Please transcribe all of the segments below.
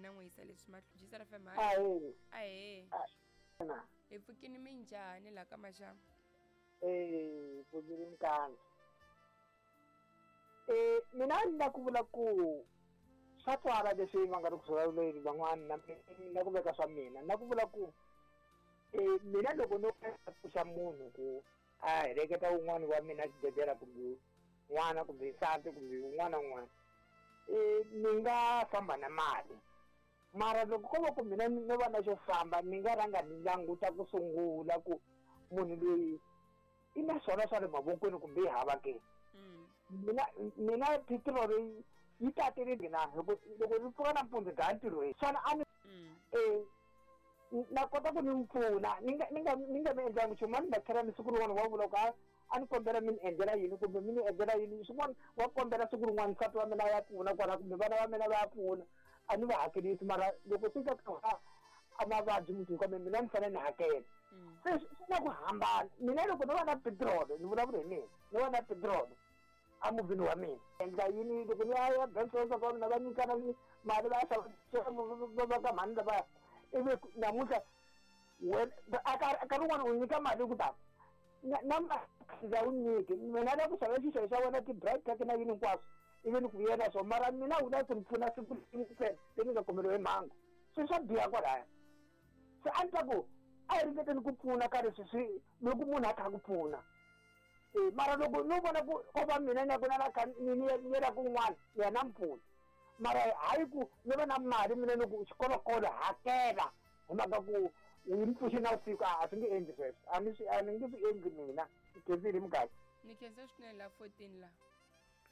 na n'wi yisa leswi mahlo jisara fm Ahee. Ahee. Na. Hi pfukini minjhani laha ka maxamu? Eh, pfukile mkandla. Eh, mina ni la ku vula ku swa twala leswi va nga ri ku vulavuleni van'wana na mina ku veka swa mina na ku vula ku eh mina loko no pfuxa munhu ku a heleketa un'wana wa mina xibedhlele kumbe n'wana kumbe nsati kumbe un'wana na un'wana eh ni nga famba na mali mara loko ko va ku mina no va na xo famba ni nga rhanga ni languta ku sungula ku munhu loyi i na swona swa le mavokweni kumbe yi hava ke mm. mina mina petiroli yi tatile na loko loko ni pfuka nampundzu dlaya ntirhweni xana a ni mm. eh, na kota ku ni n'wi pfuna ni nga ni nga ni nga mi endlangi nchumu a ni nga tlhela ni siku rin'wana wa vula ku a ni kombela mi ni endlela yini kumbe mi ni endlela yini swin'wana wa kombela siku rin'wana nsati wa mina ya pfuna kwala kumbe vana va mina va ya pfuna a ni va hakelisi mara loko swi ka a mavabyi mundzuku kambe mina ni fanele ni hakela mm. se swi na ku hambana mina loko no va na petiroli ni vulavula hi mina no va na petiroli emovheni wa mina endla yini loko ni ya ya bank transfer wa mina va nyikana mali va ya xava va ka mhani lavaya ivi namuntlha wena a ka rin'wana u nyika mali ku tani na ndza wu nyiki mina la ku xava xixevo xa wena ti-bright cake na yini hinkwaswo ivi ni ku yena swo mara mina wu la ku ni pfuna siku ntsena leyi ni nga kumeriwa hi mhangu swi swa biha kwalaya se a ni ta ku a hi ringeteni ku pfuna ka leswi swi loko munhu a kha ku pfuna e mara loko no vona ku ko va mina ni ya ku na la kha ni ni yela kun'wana ni ya na mpfuna mara hayi ku ni va na mali mina ni ku xikolokolo hakela hi mhaka ku u yi pfuxe na vusiku a swi nge endli sweswo a ni swi a ni nge swi endli mina ni khensile mugadi ni khensa swinene la 14 la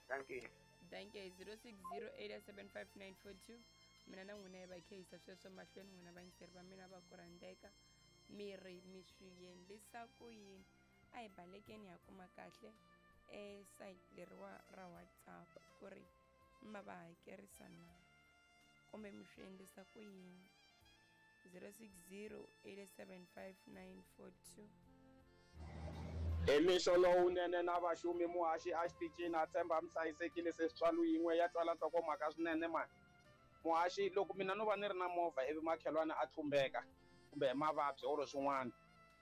thank you thank you 0608755942 mina na n'wina hi va khehisa sweswo mahlweni n'wina vayingiseri va mina va ku rhandzeka mi ri mi swi endlisa ku yini a hi balekeni ha kuma kahle e site leriwa ra whatsapp ku ri ma va hakerisa na kumbe mi swi endlisa ku yini 060 875 Hi mixo lowunene na vaxumi muhaxi a xitichini a tshemba mi hlayisekile se switswalo yin'we ya twala nhlokomhaka swinene mani muhaxi loko mina no va ni ri na movha ivi makhelwani a tlumbeka kumbe hi mavabyi or swin'wana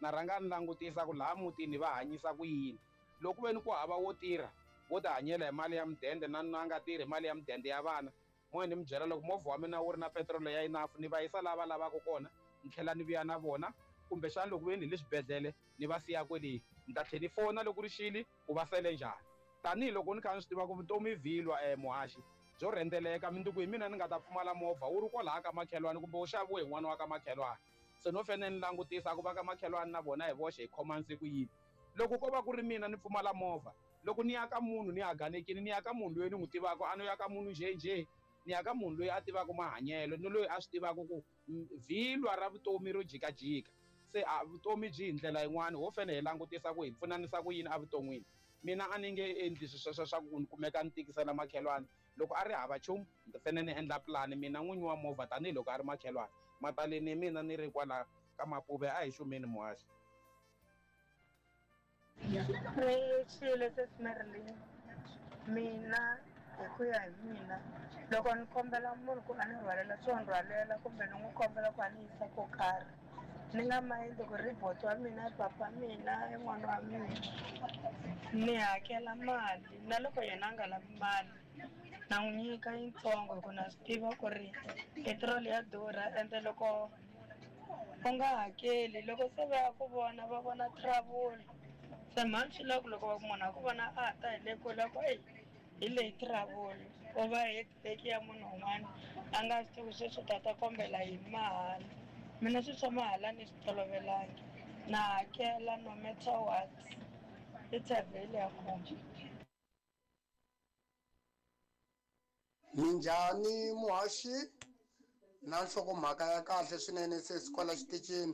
na rhanga ni langutisa ku laha mutini va hanyisa ku yini loko ve ni ku hava wo tirha wo tihanyela hi mali ya mudende na na nga tirhi mali ya mudende ya vana Moya ni mi byela loko movha wa mina wu ri na petirolo ya enough ni va yisa laha va lavaka kona ni tlhela ni vuya na vona kumbexana loko ve ni hi le xibedhlele ni va siya kwele ni ta tlhela ni fona loko ri xile ku va sele njhani tanihiloko ni kha ni swi tiva ku vutomi i vhilwa um muhaxi byo rhendzeleka mundzuku hi mina ni nga ta pfumala movha wu ri kwalaya ka makhelwani kumbe wu xaviwe hi n'wana wa ka makhelwani se no fanele ni langutisa ku va ka makhelwani na vona hi voxe hi khomanise ku yini loko ko va ku ri mina ni pfumala movha Loko ni ya ka munhu ni haganekile, ni ya ka munhu loyi ni n'wi tivaka, a no ya ka munhu njhenjhe, ni ya ka munhu loyi a tivaka mahanyelo ni loyi a swi tivaka ku vhilwa ra vutomi ro jikajika. Se a vutomi byi hi ndlela yin'wani, ho fanele hi langutisa ku hi pfunanisa ku yini evuton'wini. Mina a ni nge endli swilo sweswo swa ku ni kumeka ni tikisela makhelwani. Loko a ri hava nchumu, ni fanele ni endla pulani mina n'winyi wa movha tanihiloko a ri makhelwani. Mataleni hi mina ni ri kwala ka Mapuve a hi xumeni muhaxi. Ni xile sesi Marilyn mina hi ku ya hi mina loko ni kombela munhu ku a ni rhwalela swo ni rhwalela kumbe ni n'wi kombela ku a ni yisa ko karhi ni nga mayindi ku ri buti wa mina i papa mina i n'wana wa mina ni hakela mali na loko yena a nga lavi mali na n'wi nyika yitsongo hi ku na swi tiva ku ri petiroli ya durha ende loko u nga hakeli loko se va ya ku vona va vona trouble se mhani swi lava ku loko va ku munhu a ku vona a ta hi le kule a ku eyi hi leyi trouble u va headache ya munhu un'wana a nga swi tivi sweswi u ta ta kombela yini mahala mina swilo swa mahala ni swi tolovelangi na hakela no matter what i thavheli ya kona. Minjhani muhaxi na nhlokomhaka ya kahle swinene sesi kwala xitichini.